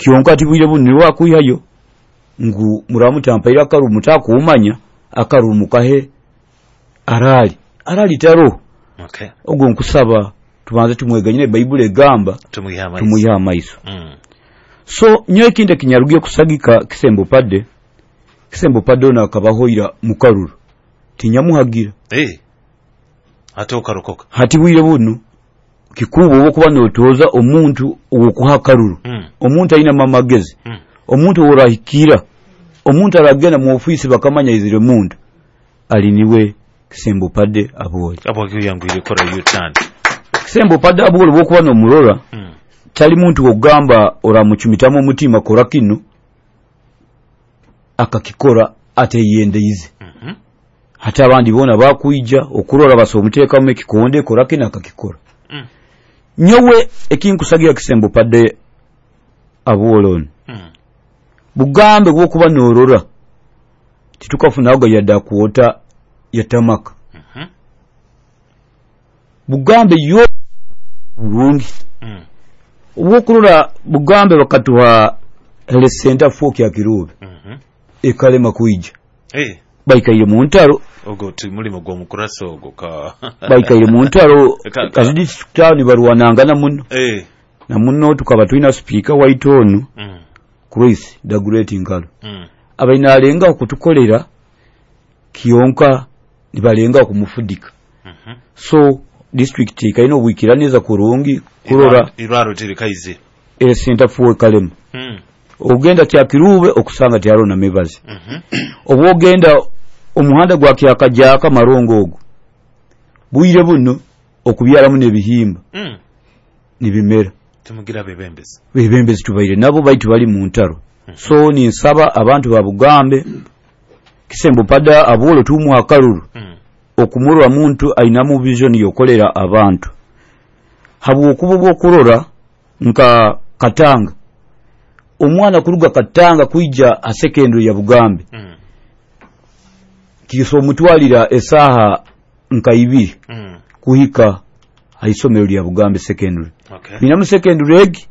Kyonka tibwire bunu niwe akwihayo ngu muramutampaire akaruru mutakumanya akaruru mukahe arali arali taro. Okay. Ogwo nkusaba tubanze tumweganyire Baibuli egamba tumuiha amaiso. So nyowe ekindi ekinyarugiye kusagika Kisembo Padde, Kisembo Padde ono akabahoira mukaruru tinyamuhagira. Ate okarokoka. Hati bwire bunu kikuba owokuba notoza omuntu owokuha akaruru. Omuntu aina amagezi. Omuntu orahikira. Omuntu aragenda mu ofisi bakamanya izire muntu ali niwe Kisembo Padde Abwoli. Abwoli yangwire kora U-turn. Kisembo Padde Abwoli bwokuba nomurora. Tali muntu ogamba oramuchumitamu omutima kora kino akakikora ateyendeize. Hata abandi bona bakuija okurora basomuteekamu ekikonde kora kino akakikora. Nyowe ekinkusagira Kisembo Padde Abwoli ono. Bugambe bwokuba norora titukafunaga yadda kuota yatamaka. Bugambe yo bulungi. Obwokurora Bugambe bakatuha health center 4 kya Kirube. Ekalema kuija. Baikaire mu ntaro. Ogo timulimo gwa mukurasa ogo ka. Baikaire mu ntaro azidi town barwanangana muno. Na muno tukaba tulina speaker waitu ono. Chris the Great Nkalo. Abaina alenga kutukolera kiyonka nibalenga kumufudika. So district ikaina obwikiraneza kurungi kurora irwaro tirikaize. Center 4 kalema. Ogenda kya Kirube okusanga tyaro na mebazi. Obwogenda omuhanda gwa kyakajaka marongo ogo. Bwire buno okubyaramu n'ebihimba. Nibimera. Tumugira bebembezi. Bebembezi tubaire nabo baitu bali mu ntaro. So ninsaba abantu ba Bugambe Kisembo Padde Abwoli tumuha akaruru. Okumurora muntu ainamu vision yokolera abantu. Habwokuba bwokurora nka Katanga. Omwana kuruga Katanga kuija a secondary ya Bugambe. Kiso mutwalira esaha nka ibiri. Kuhika haisomero lya Bugambe secondary. Ninamu secondary egi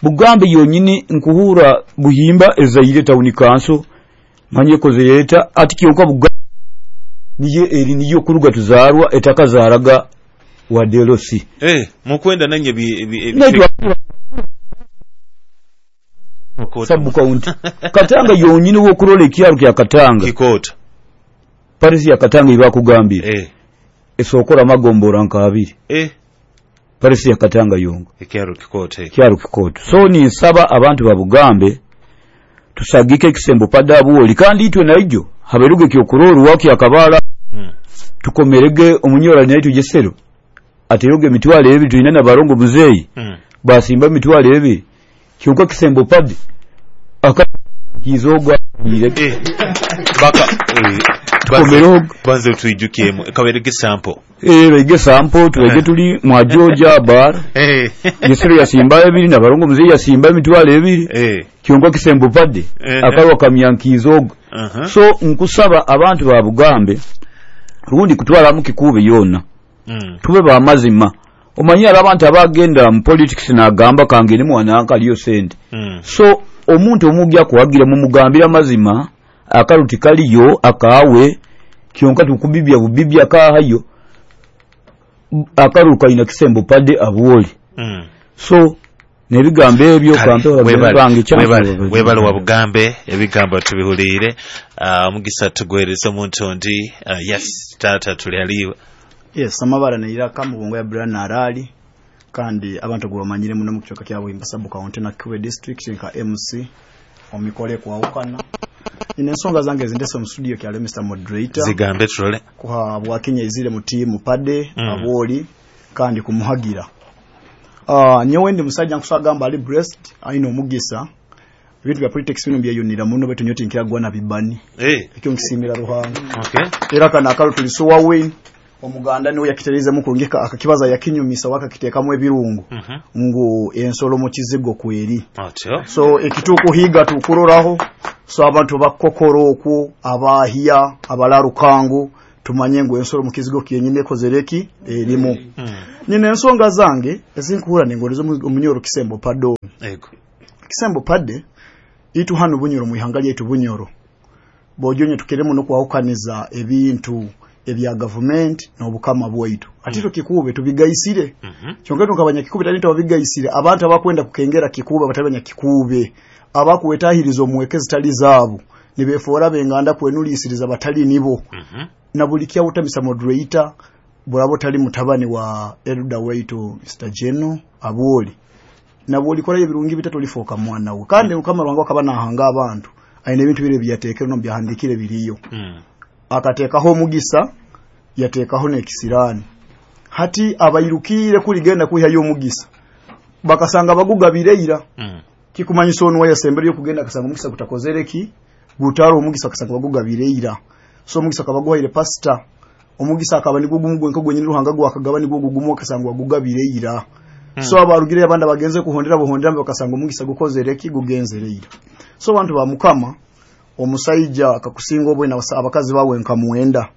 Bugambe yonyini nkuhura buhimba ezaire town council manye kozereta ati kyonka Bugambe niye eri niyo kuruga tuzarwa etakazaraga wa DLC. Mukwenda nanye bi Sabu county. Katanga yonyini wokurole ekyaro kya Katanga. Kikota. Paris ya Katanga ibakugambira. Esokora magombora nka abiri. Paris ya Katanga yongo. Ekyaro kikota. Ekyaro kikota. So ni nsaba abantu ba Bugambe tusagike Kisembo Padde Abwoli kandi itwe naijo haberuge kyokuroru waki akabala. Tukomerege omunyora naitu jesero. Ateroge emitwalo ebiri tulina na barongo muzeyi. Basimba emitwalo ebiri. Kyonka Kisembo Padde akakizoga baka tukomerog banze tuijukiemu kaberege sample bege sample tuwege tuli mwa Georgia bar. Jesero yasimba ebiri na barongo muzeyi yasimba emitwalo ebiri. Kyonka Kisembo Padde akarwa kamyankizoga. So nkusaba abantu ba Bugambe rundi kutwala mu kikube yona. Tube ba mazima. Omanyi abantu abagenda mu politics nagamba kange ni mwana akaliyo sente. So omuntu omugya kuwagira mumugambira mazima akaruti kaliyo akawe kyonka tukubibya bubibya kahayo akaruka ina Kisembo Padde Abwoli. So nebigambo ebyo kampe bange chanzo webale wa Bugambe ebigambo tubihulire. Omugisa tugwereza omuntu ndi. Yes tata tuli aliwe. Yes amabara neira kamubongo ya Brian Arali kandi abantu gwamanyire muno mu kichoka kya Buhimba sub county na Kiwe district nka MC omikole kwawukana. Ine ensonga zange zindese mu studio kya Mr Moderator zigambe tulole kuha bwakenya izire mu team Padde Abwoli kandi kumuhagira. Nyowe ndi musajja nkusagamba ali breast aina omugisa ebintu bya politics bino byeyunira muno betu nyoti nkiragwa na bibani. Ekyo nkisimira Ruhanga. Era kana akalo tulisuwa win omuganda niwe yakitereza mu kurungika akakibaza yakinyumisa wakakitekamu ebirungo ngo ensolo mu kizigo kweri. So ekituko higa tukuroraho so abantu bakokoro okwo abahia abalarukangu tumanye ngo ensolo mu kizigo kiyenyine kozereki erimu. Nyine ensonga zange ezinkuhura nengorizo omunyoro Kisembo Padde. Ego. Kisembo Padde itu hano Bunyoro muihanga lyaitu Bunyoro bojonye tukiremu nokwahukaniza ebintu ebya government n'obukama bwaitu. Ati Kikuube tubigaisire. Kyonka tukabanya Kikuube tali tubigaisire abantu abakwenda kukengera Kikuube batabanya Kikuube abakuwetahiriza omwekezi tali zaabu nibefora benganda kwenulisiriza batali nibo. Na buli kyawutamisa moderator burabo tali mutabani wa elder waitu Mr. Geno Aboli na buli kola ebirungi bitatu lifoka mwana we kandi mukama wangu akaba nahanga abantu aine ebintu bire byatekero no byahandikire biriyo. Akatekaho omugisa yatekaho nekisirani hati abayirukire kuligenda kuhayo omugisa bakasanga bagugabireira. Kikumanyisa ono wayasembere kugenda akasanga omugisa gutakozereki gutaro omugisa akasanga bagugabireira. So omugisa akabaguhaire pastor omugisa akaba nigugumu nko gwenyini ruhanga gwakagaba nigugumu akasanga bagugabireira. So abarugire abanda bagenze kuhondera buhondera bakasanga omugisa gukozereki gugenzereira. So abantu ba mukama omusaija akakusinga obwe na abakazi bawe nkamuenda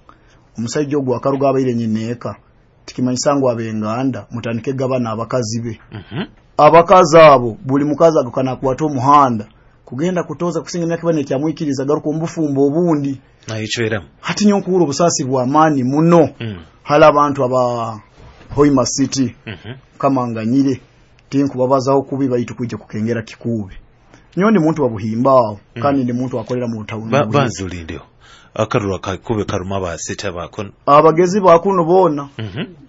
omusaija ogwo akaruga abaire nyineka tikimanyisa ngo abenganda mutandike gabana abakazi be. Abakazi abo buli mukazi agukana kuwata omuhanda kugenda kutoza kusinga emyaka bane kyamwikiriza garuka ombufumbo obundi nayichwera hati nyonkuru obusasi bwa amani muno. Hala abantu aba Hoima City kama nganyire tinkubabazaho kubi baitu kujja kukengera Kikuube. Nyondi muntu wa buhimbao kandi ndi muntu akolera mu town. Banzulindeo akarura kakube karuma basita bakono abagezi bakuno bona.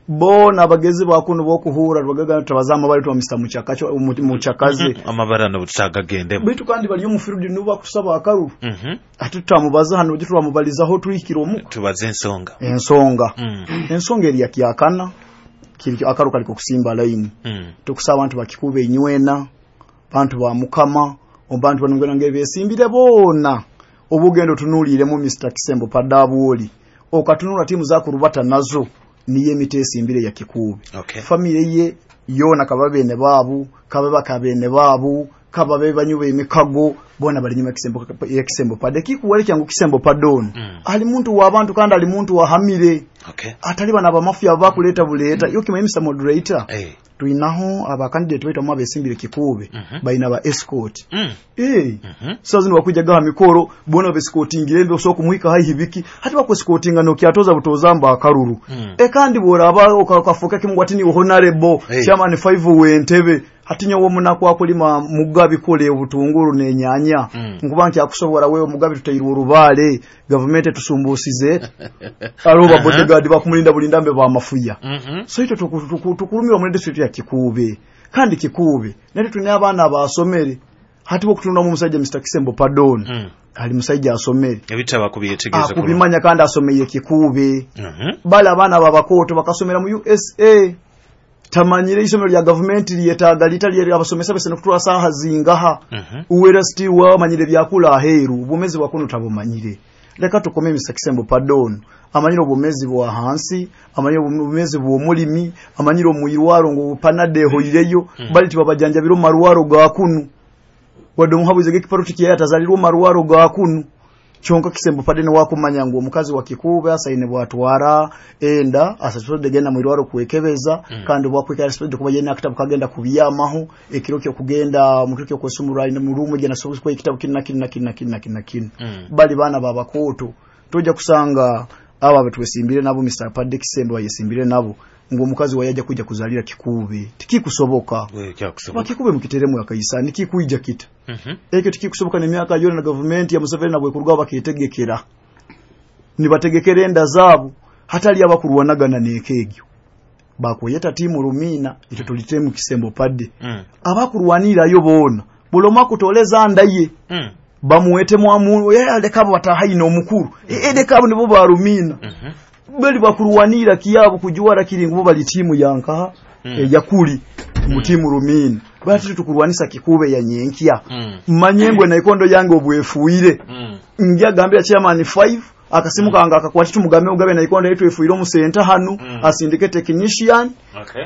Bona abagezi bakuno bokuhura rwagaga tabazama bali twa Mr. Muchakacho Muchakaze amabara no butagagende bitu kandi bali mu field nuba kusaba akaru. Ati tutamubaza hano uje turamubalizaho tuhikira omuka tubaze ensonga. Ensonga eri yakiyakana kiri akaru kaliko kusimba line. Tukusaba abantu bakikube inywena bantu ba mukama obantu banungana ngebesimbire bona obugendo tunulire mu Mr. Kisembo Padde Abwoli okatunula timu zakurubata nazo niye emitesimbire ya Kikuube. Family ye yona kababene babu kababa kabene babu kababe banyube emikago bona bali nyuma Kisembo ya Kisembo Padde kikuwale kyangu Kisembo Padde ono. Ali muntu wa abantu kandi ali muntu wa hamire. Atali bana abamafia bakuleta buleta yo kimwe Mr. Moderator. Tuinaho aba candidate wetu amabesimbire Kikuube baina ba escort. So zino wakuja gaha mikoro bona bescortingire mbe osoko kumuhika hai hibiki hati bakwescortinga no kyatoza butozamba akaruru. Kandi bora aba okafuka kimwe ati ni honorable chairman 5 wentebe hati nyowo munako akulima mugabi kole obutunguru nenyanya nkuba nkyakusobora wewe mugabi tutayirwa orubale government tusumbusize aroba bodyguard bakumulinda bulinda mbe ba mafuya. So ito tukurumira mu district ya Kikuube kandi Kikuube nati tune abaana abasomere hati bokutunda mu musajja Mr. Kisembo Padde ono. Ali musajja asomere ebitaba kubyetegeza akubimanya kandi asomeye Kikuube. Bali abaana babakoto bakasomera mu USA tamanyire isomero lya government lyetaaga litali abasomesa bese nokutula saha zingaha. Uwera stiwa amanyire byakula aheru obumezi bwakuno tabumanyire. Leka tukome Mr. Kisembo Padde ono amanyire obumezi bwa hansi amanyire obumezi bw'omulimi amanyire omuyirwaro ngo panade hoireyo. Bali tibabajanjabiro maruwaro gakunu wadde omuhabuze gekiparuti kye atazalirwa maruwaro gakunu kyonka Kisembo Padde ne wakumanya ngo omukazi wa Kikuube asaine bwatwara enda asasodde genda mu irwaro kwekebeza. Kandi bwakwekera sipede kuba yena akitabu kagenda kubiyamaho ekiro kyo kugenda mu kiro kwesumura ine mu rumu gena so kwa ekitabu kinna kinna kinna kinna kinna kinna. Bali bana babakoto toja kusanga aba betwesimbire nabo Mr. Padde Kisembo bayesimbire nabo ngo omukazi wayaja kuja kuzalira Kikuube tikikusoboka. Bakikube mukiteremu akayisa nikikuija kita. Ekyo tikikusoboka nemyaka yona na government ya Museveni nabwe kuruga baketegekera nibategekera enda zaabo hatali abakurwanagana nekegyo bakweyeta timu Rumina ito tulitemu Kisembo Padde. Abakurwanirayo bona buloma kutoleza ndaye bamuwete mwamu leka batahaino omukuru leka abo nibo ba Rumina. Bali bakurwanira kiyabo kujuwara kiringo bali timu yanka yakuli mutimu Rumina bati tukurwanisa Kikuube ya nyenkya. Manyengwe na ikondo yange obwefuire. Njagambira chairman 5 Akasimu kange akakwati tumugambe ugabe naikondo yetu efuire omusenta hanu, asindike technician,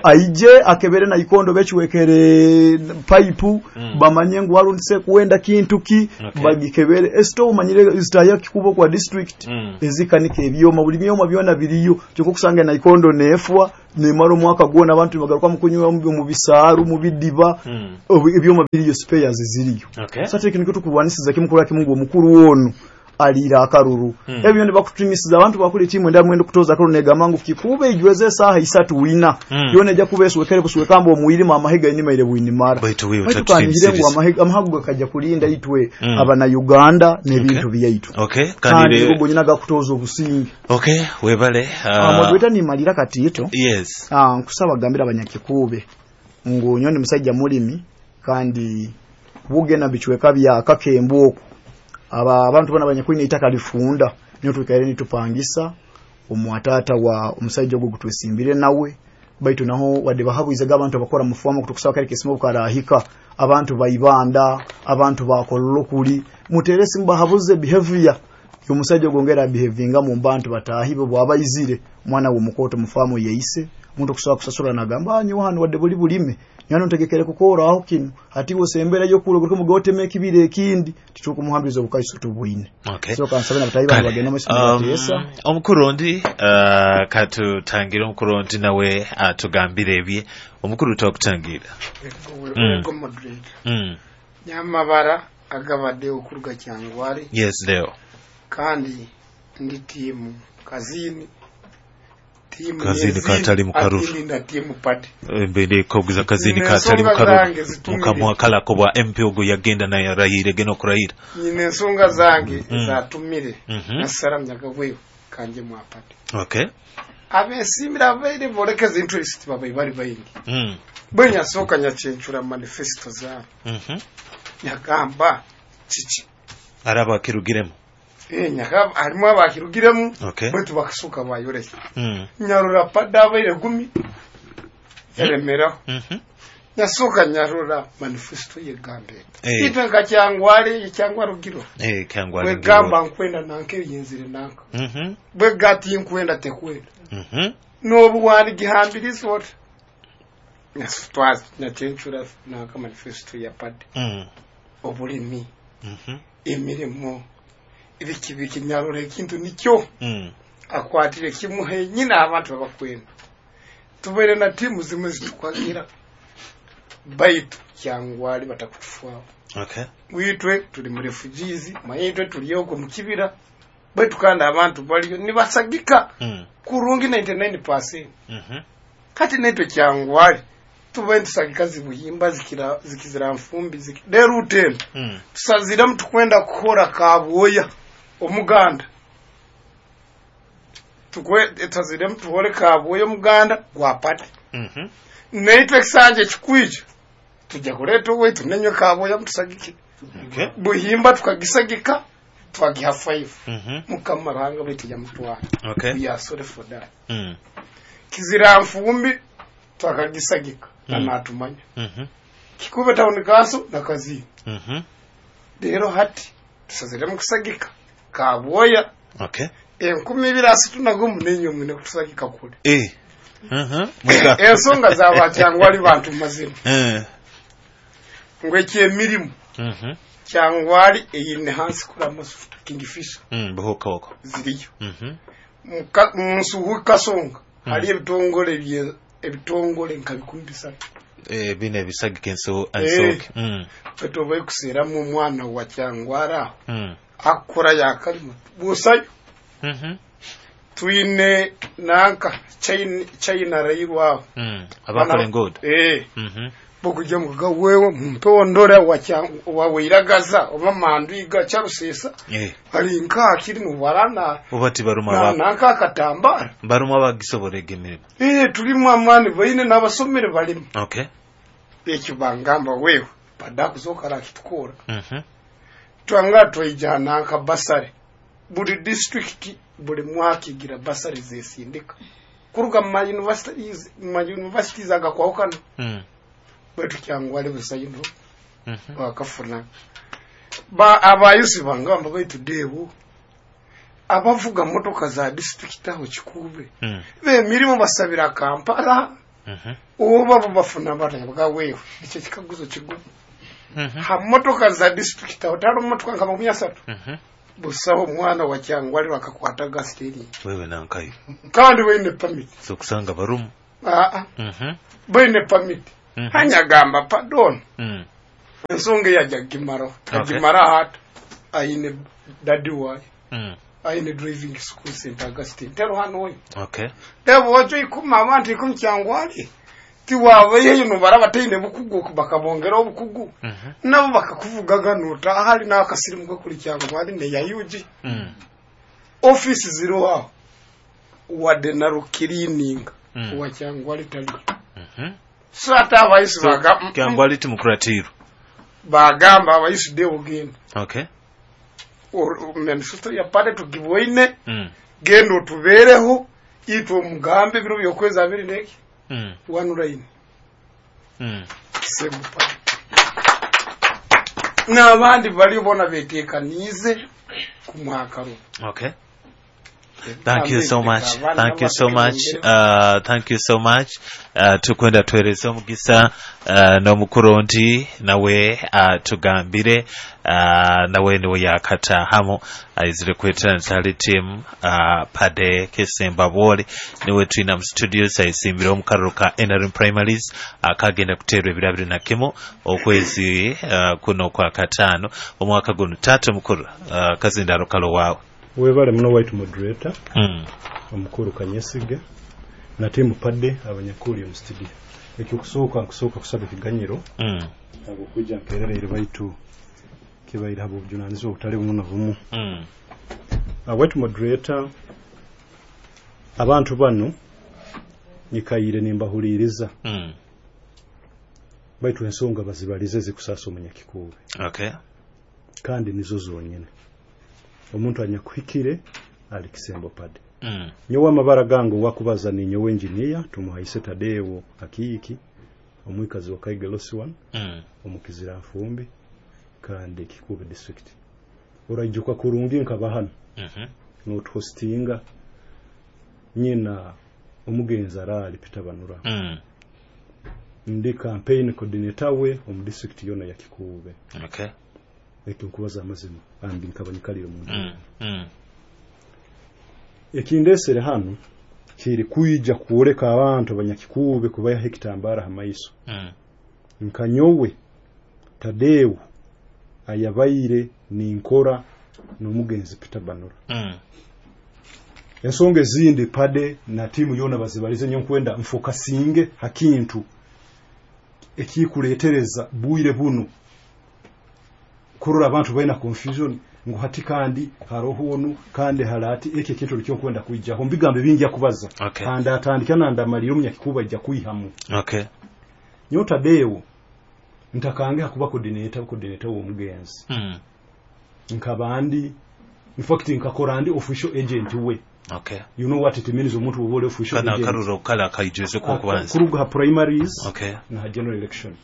aije akebere naikondo bechiwekere pipe, bamanye ngu walundise kuwenda kintu ki, bagikebere. Esito umanyire zitaya kikubo kwa district, ezikanika ebyoma, buli byoma byona biriyo. Kyokka okusanga naikondo nefwa, nemara omwaka gwona abantu bagaruka mu kunywa mu bisaaru, mu bidiba, ebyoma biriyo, spares ziriyo. Sasa ekintu tukulwanisiza kimukuru kimungu omukuru wono alira akaruru. Ebyo ne bakutumisiza abantu bakule timu enda mwendo kutoza akaruru negamba ngu kikube ijweze saha isatu wina. Yone ejja kubeswekere kuswekambo omuyirima amahega inimaire bwinimara. Baitu wewe utatutimisiza ngu amahago gakajja kulinda itwe abana Uganda n'ebintu byaitu. Kandi ubwo nyina gakutoza obusinge. Webale. Moderator ni malira katito. Yes. Nkusaba gambira abanyakikube ngu nyoni musajja mulimi kandi bugena bichweka bya kakembo aba abantu bana abanyakwine itaka lifunda niyo tukaire nitupangisa omwatata wa omusajja ogwo gutwesimbire nawe baitu naho wadde bahabuize abantu abakora mufuamo kutukusaba kale kisimo karahika abantu baibanda abantu bakololokuli muteresi mbahabuze behavior y'omusajja ogongera behavinga mu bantu batahibo bwabayizire mwana wo mukoto mufamu yeise umuntu kusaba kusasula nagamba anyu hano wadde buli bulime nyano ntegekere kukora aho kino ati wosembera yo kulo kuko mugoteme ekibire ekindi titukumuhambiriza obukaiso tubwine. So kansabe nabatayi bagenda mu sinatesa omukuru ndi katutangira omukuru ndi nawe atugambire ebye omukuru tokutangira nyamabara agabade okuruga Kyangwali. Yes leo kandi ndi timu kazini kazini katali mukaruru na timu pati mbere koguza kazini katali mukaruru mukamwakala ko bwa MP ogo yagenda naye rahire geno kurahira nyine ensonga zange zatumire nasaramya gabweyo kanje mwa pati. Abesimira abaire bolekeza interest babaye bari bayingi bwenya soka nyachencura manifesto za nyagamba chichi araba kirugiremo nyakaba harimo abakirugiremo bwetu bakasuka bayoreke nyarura pada baire gumi yaremeraho nyasuka nyarura manifesto yegambe itwe nka Kyangwali cyangwa Rugiro Kyangwali wegamba nkwenda nanke yinzire nanka bwegati nkwenda tekwenda nobu wali gihambirizo ot nyasutwaza nyachencura nanka manifesto ya pad obulimi emirimo ibiki nyarura ekintu nikyo akwatire kimuhe nyina abantu babakwenda tubere na timu zimwe zitukwagira baitu Kyangwali batakutufwaho. Witwe tuli mu refugees mayitwe tuliyoko mu kibira baitu kandi abantu baliyo nibasagika kurungi 99%. Kati netwe Kyangwali tubaye tusagika zibuhimba zikizira mfumbi lero uteno tusazira mtukwenda kukora kabwoya omuganda tukwe tazire mtuhore kabwoya omuganda gwapate neitwe kisanje kikwije tujja kuleta wetu nenywe kabwoya mtusagike buhimba tukagisagika twagiha 5 mukamaranga betu ya mutwara we are sorry for that. Kizira mfumbi twakagisagika na natumanya kikube town council na kazi rero hati tusazire mukusagika kabwoya 2031 nenyo mwine kutusagika kule ensonga zaba Kyangwali bantu mazima ngwe emirimu Kyangwali eyine hansi kula masufuta Kingfisher buhokoko ziriyo munsuhu kasonga hali ebitongole bye ebitongole nka 3,000 bine bisagike enso ansoke betobe kusera mu mwana wa Kyangwara akora yakalimo busayo twine nanka China rairwa abakora ngodo bokujya muga wewe mpondora wa weiragaza oba mandiga charusesa ali nka kiri mu barana ubati baruma ba nanka katambara baruma bagisoborega emirimo tulimu amani baine n'abasomere balimu ekyo bangamba wewe badakuzoka kitukora twanga twijana nka basare buli district buli mwaka igira basare zesindika kuruga mu universities agakwahukana bwetu Kyangwali busayino bakafuna ba abayusi bangamba baitu debu Abavuga motoka za district aho Kikuube bemirimu basabira Kampala, oba bo bafuna batya wewe? Ekyo kikaguzo kigumu. Ha motoka za district aho talo motoka nka 30, busaho omwana wa Kyangwali bakakwataga steering. Wewe nankayo. Kandi baine permit. So kusanga barumu. Baine permit. Hanyagamba pardon. Ensonga yajja gimaro. Agimara hata aine daddy wayo. Aine driving school St. Augustine. Tero hano we. Okay. Debo wacho ikuma abantu ikumi Kyangwali. Tiwabaye no barabataine bukugu bakabongera obukugu. Nabo bakakuvugaga nota ahali n'akasirimu gakuri Kyangwali ne yayuji. Office ziro aho. Wadde na rukirininga wa Kyangwali tali. So ate abayisi bagamba Kyangwali timukuratiru. Bagamba abayisi de ogenda. Okay. Manifesto ya pale tugiboine. Genda otubeereho itwe omugambe ebiro by'okwezi abiri n'eki. One line. Kisembo pale. N'abandi bali bona beteekaniize ku mwaka runo. Okay. Thank you so much. Thank you so much. Thank you so much. Tukwenda tuhereze omugisa n'omukuru ndi nawe tugambire nawe niwe yakatahamu aizire kwetantale team Pade Kisemba Bwoli niwe twina mu studios aisimbire omukaruro ka NRM primaries akagenda kuterwa ebiro 21 okwezi kuno kwa katano omwaka guno. Tata mukuru kazindaro kalo wawe. Webale muno white moderator. Omukuru Kanyesige na timu Pade abanyakuli mu studio. Ekyokusooka nkusooka kusaba ekiganyiro abo kujja mperereire baitu kibaire abo obujunanizibwa obutali bumu na bumu. White moderator, abantu bano nyikaire nimbahuliriza. Baitu ensonga bazibalize zikusasa omunyakikuube. Okay. Kandi nizo zonyene. Omuntu anyakuhikire ali Kisembo Pade. Nyowe amabara gange wakubaza ni nyowe engineer tumuhaise Tadeo Akiiki omwikazi wa Kaiga Losiwan omukizira nfumbi kandi Kikuube district. Oraijuka kurungi nkaba hano. Notuhostinga nyina omugenzi arali Peter Banura. Ndi campaign coordinator we omu district yona ya Kikuube. Okay. Ekyo nkubaza amazima andi nkabanyikalire mu Ekindesere hano kiri kuija kuoleka abantu abanyakikuube kubayaho ekitambara ha maiso. Nkanyowe Tadeo ayabaire ninkora n'omugenzi Peter Banura. Ensonga ezindi Pade na timu yona bazibalize nyo nkwenda mfokasinge hakintu ekikuletereza bwire buno kurora abantu baina confusion ngu hati kandi haroho onu kandi harati eke kintu nikyo nkwenda kwijaho mbigambe bingi akubaza. Okay. Kandi atandika nandamalira omunyakikuba ijja kwihamu. Okay. Nyo Tadeo ntakange hakuba coordinator w'omugenzi. Nkabandi in fact nkakora ndi official agent we. Okay. You know what it means omuntu obole official kana agent. Karuro kala kaijeze ko kubanza. Kuruga primaries. Okay. Na general election.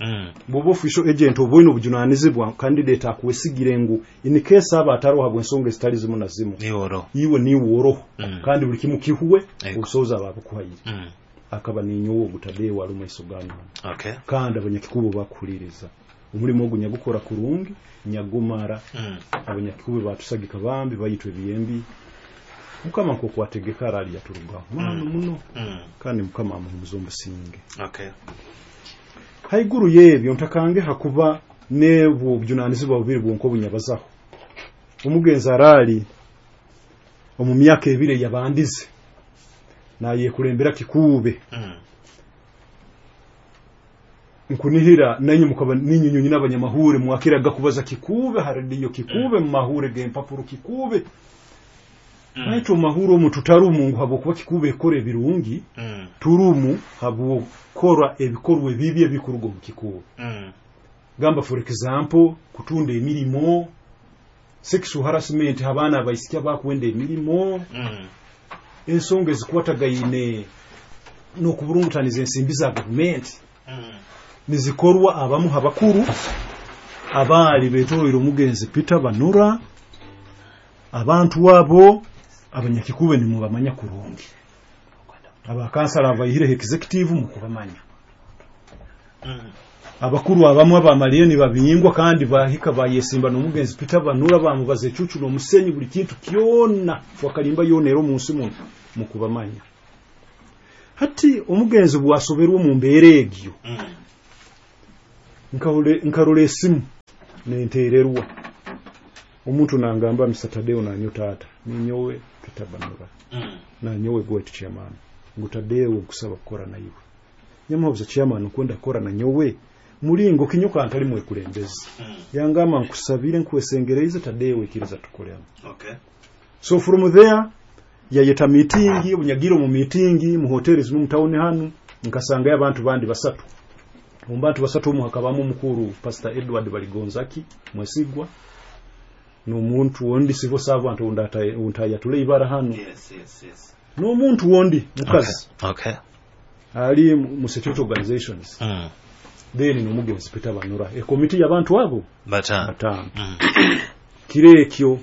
Bobo official agent oboino obujunanizibwa candidate akuwesigire ngu in case aba ataroha bwensonga zitali zimu na zimu. Niworo. Iwe niworo. Kandi buli kimu kihuwe obusoza abakuhayire. Akaba ninyowo gutadewa alumu isogano. Okay. Kandi abanyakikubo bakuhuliriza. Omulimo ogu nyagukora kurungi nyagumara. Abanyakikubo batusagika bambi bayitwe biyembi. Mukama nko kwategeka arali yaturugaho mano muno. Kandi mukama amuhumuza omusinge. Okay. Haiguru yebyo ntakange hakuba nebwo obujunanizibwa bubiri bwonko bunyabazaho. Omugenzi arali omu myaka ebiri yabandize naye kulembera Kikuube. Nkunihira nanyu mukaba ninyu nyina abanyamahure mwakiraga kubaza Kikuube haradiyo Kikuube mu mahure g'empapuro Kikuube. Baitu mahuro omu tutarumu ngu habwokuba Kikuube ekora ebirungi, turumu habwokora ebikorwa ebibi ebikuruga omu Kikuube. Gamba for example kutunda emirimo, sexual harassment abaana abaisiki abakwenda emirimo, ensonga ezikwatagaine n'okuburungutaniza ensimbi za gavumenti nizikorwa abamu habakuru abaali betoroire omugenzi Peter Banura. Abantu abo Abanyakikube nimubamanya kurungi, abakansala abaihireho executive mukubamanya, abakuru abamwe abamalire nibabingwa kandi bahika bayesimba n'omugenzi Peter Banura, bamubaza ecucu n'omusenyi, buli kintu kyona, fwakalimba yona era omunsi muno mukubamanya. Hati omugenzi bwasoberwa omu mbeera egyo, nkarora esimu nentererwa omuntu nangamba, "Mr. Tadeo, nanyo tata ninyowe Peter Banura, nanyowe gwetu chairman, ngu Tadeo nkusaba kukora naiwe." Nyamuhabuza, "Chairman, nkwenda kukora nanyowe mulingo kinyoka ntali mwekulembezi?" Yangamba, "Nkusabire, nkwesengereize, Tadeo, ikiriza tukolemu." So from there yayeta meeting. Obunyagire omu meeting mu hoteli zimu mu town hanu, nkasangayo abantu bandi basatu. Omu bantu basatu omu hakabamu omukuru Pastor Edward Baligonzaki Mwesigwa n'omuntu ondi civil servant ontayatule ibara hano, n'omuntu wondi mukazi ali mu security organizations, then n'omugenzi Peter Banura, ekomiti y'abantu abo batano. Batano. Kiro ekyo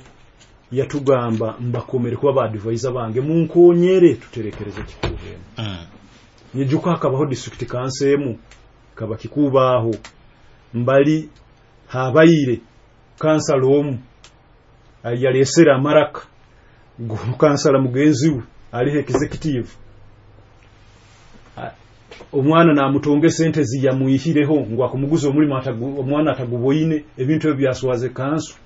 yatugamba, "Mbakomere kuba ba advisor bange, munkonyere tuterekereze Kikuube emu." Nyijuka hakabaho district council emu kaba kikubaho mbali habaire kansala omu yalesera amaraka kansala mugenzi we aliho executive. Omwana namutonga esente ziyamwihireho ngu akumuguza omulimu, omwana ataguboine. Ebintu ebyo byaswaze kansu.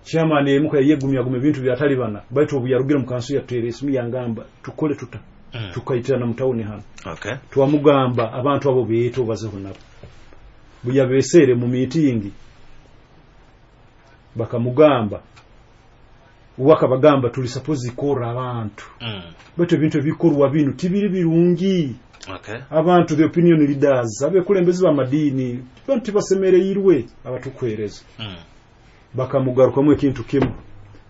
Chairman emuka yegumya guma ebintu byatalibana, baitu obu yarugire mu kansu yatera esimu yangamba, "Tukole tuta?" Tukaitirana mu tawuni hano. Twamugamba, "Abantu abo beete obazeho nabo." Buyabesere mu meeting bakamugamba, wakabagamba, "Tuli suppose kora abantu, baitu ebintu ebikorwa binu tibiri birungi." Abantu, the opinion leaders, abekulembezi b'amadiini, bantu tibasemereirwe abatukuhereza. Bakamugarukamu ekintu kimu,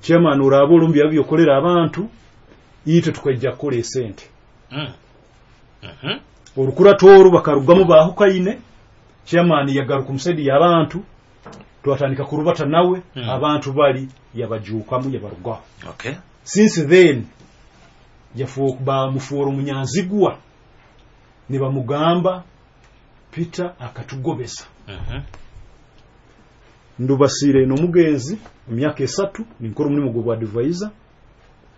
"Chairman, oraba olumbi abyokolera abantu, itwe tukaija kukora esente." Orukurato oru bakarugamu bahukaine. Chairman yagaruka omusedi y'abantu, twatandika kurubata nawe. Abantu bali yabajuukamu, yabarugaho. Since then bamufuura omunyanzigwa, nibamugamba, "Peter akatugobeza." Ndubasire n'omugenzi emyaka 3 ninkora omulimu gw'obwa advisor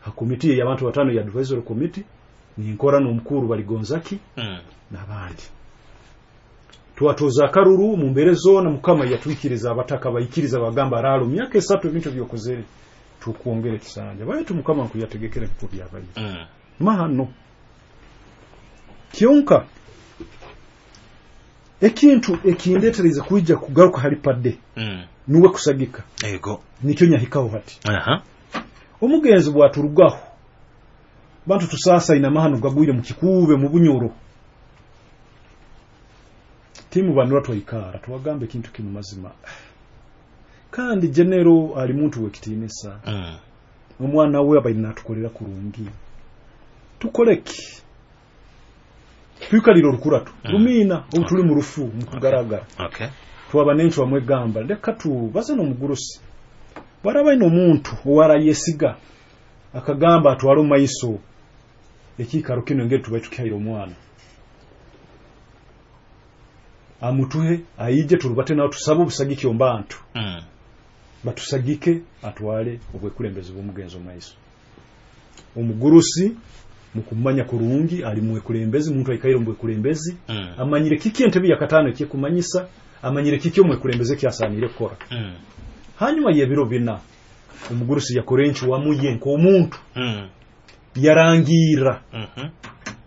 ha komiti y'abantu batano ya advisory committee, ninkora n'omukuru Baligonzaki n'abandi. Twatoza akaruru mu mbere zona, Mukama yatwikiriza, abataka baikiriza, bagamba, "Aralo myaka 3 ebintu byokozere, tukwongere kisanja." Baitu Mukama nkuyategekere nkuko byabaire. Mahano kyonka ekintu ekindetereza kwija kugaruka hali padde, nuwe kusagika, nikyo nyahikaho hati. Omugenzi bwaturugaho, bantu tusasa ina mahano gagwire mu Kikuube, mu Bunyoro. Timu Banura twaikara twagamba ekintu kimu, mazima kandi genero ali muntu wekitiinisa, omwana we abaire natukolera kurungi, tukoleki? Twikalira orukurato rumina obu tuli mu rufu mu kugaragara. Twaba n'encwamu amwegamba, leka tubaze n'omugurusi bwaraba aine omuntu owarayesiga akagamba atwale omu maiso ekiikaro kino, engeri tubaire tukihaire omwana, amutuhe aije turubate nawe, tusabe obusagiki omu bantu, batusagike atwale obwekulembezi bw'omugenzi omu maiso. Omugurusi mukumanya kurungi ali mwekulembezi, muntu aikaire omu bwekulembezi, amanyire kiki entebe ya katano ekyekumanyisa, amanyire kiki omwekulembezi ekyasaanire kukora. Hanyuma y'ebiro 4 omugurusi yakora encwamu ye nk'omuntu, yarangiira,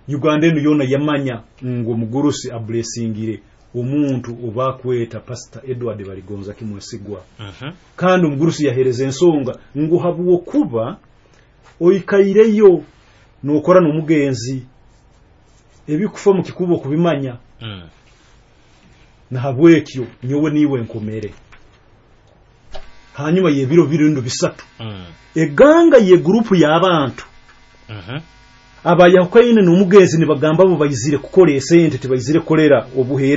Uganda enu yona yamanya ngu omugurusi ablessingire omuntu obakweta Pastor Edward Baligonza Kimwesigwa. Kandi omugurusi yahereza ensonga ngu habwokuba oikaireyo nokora n'omugenzi, ebikufa mu Kikuubo okubimanya, nahabwekyo nyowe niiwe nkomere. Hanyuma y'ebiro birundo 3, eganga ye gurupu y'abantu abayahukaine n'omugenzi nibagamba bo baizire kukora esente, tibaizire kukolera obuheereza.